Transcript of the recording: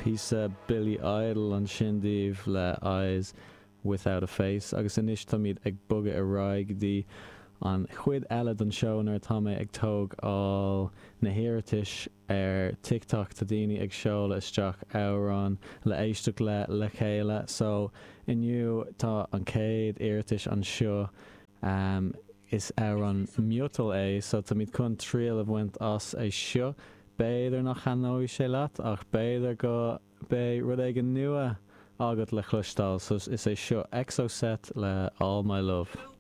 Píosa Billy Idol ansin daoibh le Eyes Without a Face agus anois táimid ag bogadh ar aghaidh go dtí an chuid eile den seó nuair atá mé ag tógáil na hiarratais ar TikTok tá daoine ag seoladh isteach amhráin le éisteacht le le chéile so inniu tá an chéad iarratais anseo is amhrán miotail é so táimid chun triail a bhaint as é seo. B'fhéidir nach thaitneoidh sé leat ach b'fhéidir go mbeidh rud éigin nua agat le cloisteáil so is é seo Exocet le All My Love.